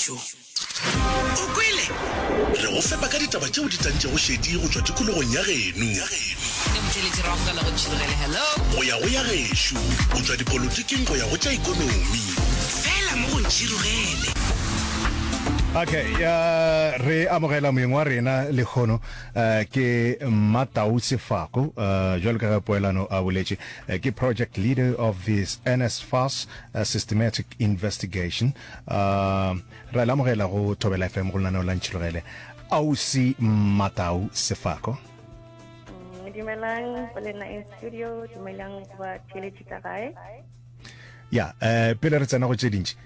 Tšo. O kwele? Re go fepa ka ditaba tšeo di tantšego šedi go tšwa tikologong ya geno. Ne motheeletši re amogela go Ntšhirogele. Hello. Go ya go ya gešo, go tšwa dipolotiking go ya go tša ekonomi. Fela mo go Ntšhirogele. Okay, ya re amogela moyeng wa rena lehono uh, ke Mmatau Sefako uh, jwalo ka ge Poelano a boletše uh, ke project leader of this NSFAS uh, systematic investigation Uh, ra le amogela go Thobela FM go lenaneo la Ntšhilogele. Ausi Matau Sefako. Mm, dumelang go lena in studio, dumelang go ba theeletši ka gae. Ya, eh pele re tsena go tše dintši,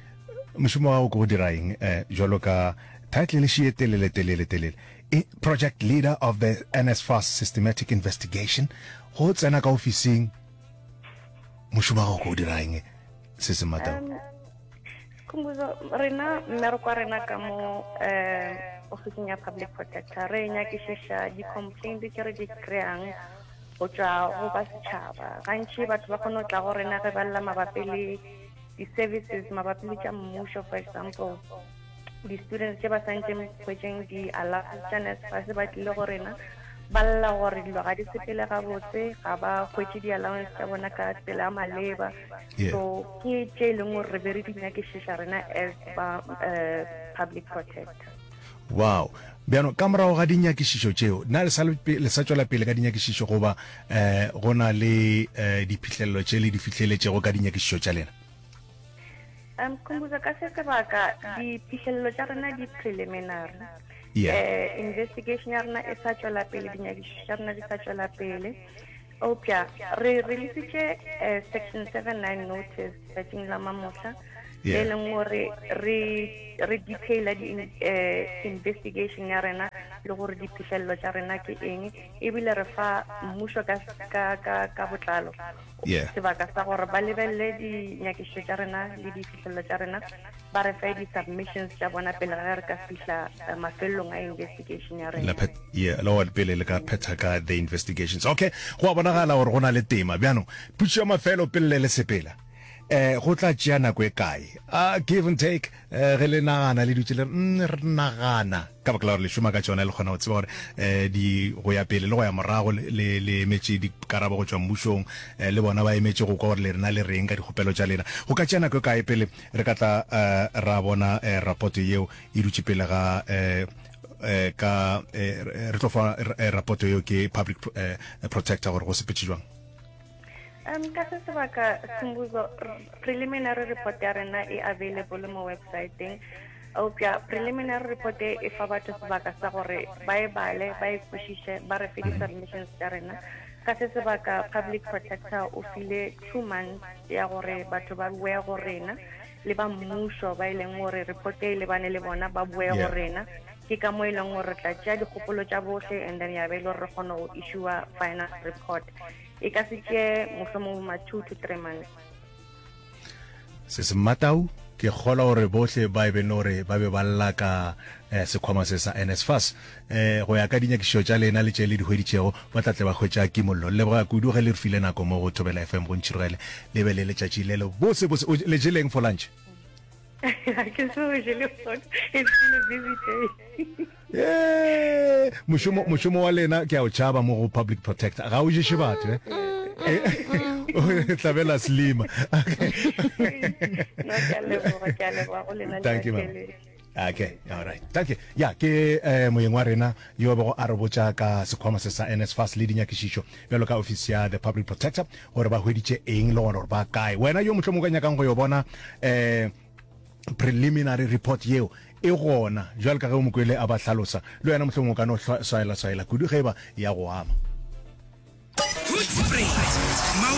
mošomo wa gago ke go dira eng eh jwalo ka title le šie telele telele telele. E, project leader of the NSFAS systematic investigation. Go tsena ka ofising mošomo wa gago ke go dira eng se se Matau? Um, Khumbuzo, rena mmereko wa rena ka mo um ofising ya public protector re nyakišiša di-complaint tše re di kry-ang go tšwa go ba setšhaba gantši batho ba kgone go tla go rena ge ba lla mabapi le di-services mabapi le tša mmušo for example di-students tše ba santšeng hwetšeng di-allowance tša NSFAS ba tlile go rena ba lla gore dilo ga di sepele gabotse ga ba hwetše di-allowance tša bona ka tsela ya maleba Yeah. so ke tše e leng gore re be re di nyakišiša rena as ba uh, public protector Wow. Bjano ka morago ga dinyakišišo tšeo, na le sa le le sa tšwela pele ka dinyakišišo goba eh go na le eh diphihlelelo tše le di fihleletšego ka dinyakišišo tša lena? Um Khumbudzo, ka se sebaka diphihlelelo tša rena di preliminary. Yeah. Eh, investigation ya rena e sa tšwela pele, dinyakišišo tša rena di sa tšwela pele. Eupša re releasitše eh, section 79 notice tšatšing la mamohla Yeah. le leng gore re re detaila di eh, investigation ya rena le gore diphihlelelo tša rena ke eng ebile re fa mmušo ka ka ka ka botlalo Yeah. sebaka sa gore ba lebelele dinyakišišo tša rena le diphihlelelo tša rena ba re fe di-submissions tša bona pele ga ge re ka fihla eh, mafelelong a investigation ya La rena phet yeah, le gore pele le ka phetha ka the investigations. Okay, go a bonagala gore go na le tema. Bjano, potšišo ya mafelo pele le le sepela. Eh go tla tšea nako e kae? Ah give and take eh ge le nagana le dutše le re mm, re nagana ka baka la gore le šoma ka tšona le kgona go tseba gore eh di go ya pele le go ya morago le le le emetše dikarabo go tšwa mmušong eh, le bona ba emetše go kwa gore le rena le reng ka dikgopelo tša lena. Go ka tšea nako e kae pele re ka tla eh, ra bona eh, rapoto yeo e dutše pele ga eh, eh, ka eh, re tlo fa eh, rapoto yeo ke public eh, protector gore go sepetše jwang? Um, ka se sebaka Khumbuzo, preliminary report ya rena e available mo websiteng eupša preliminary report e e fa batho sebaka sa gore ba e bale ba e kwešiše ba re fe di-submissions tša rena ka se sebaka public protector o file two months ya gore batho ba boe go rena le ba mmušo ba e leng gore report e lebane le bona ba boe go rena ke ka mo e leng gore re tla tšea dikgopolo tša bohle and then ya be e le gore re kgone go issua final report e ka se tšee mohlomong ma 2 to 3 months. Se se Mmatau, ke kgolwa gore bohle ba e be no re ba be ba lla ka eh, sekhwama se sa NSFAS. Eh, go ya ka dinyakišišo tša lena le tše le di hweditšego, ba tla tle ba hwetša kimollo. Leboga kudu ge le re file nako mo go Thobela FM go ntšhirogele. Le be le letšatši le le bose bose. O le jeleng for lunch? Ga ke so je le gona. It's been a busy day. Ee, mošomo mošomo wa lena ke a o tšhaba mo go public protector ga o ješe batho eh? Eh, tlabela slima No, ke a leboga, ke a leboga go lena le Thank you, ma'am. batheeletši. okay all right thank you ya ke eh, moyeng wa rena yo a bego a re botša ka sekhwama se sa NSFAS le dinyakišišo bjalo ka office ya the public protector gore ba hweditše eng le gona gore ba kae wena yo mohlomong o ka nyakang go yo bona eh preliminary report yeo e gona bjalo ka ge o mokwele a ba hlalosa le wena mohlomong o ka no swaela swaela kudu ge e ba ya go ama. Hoedspruit, Mount.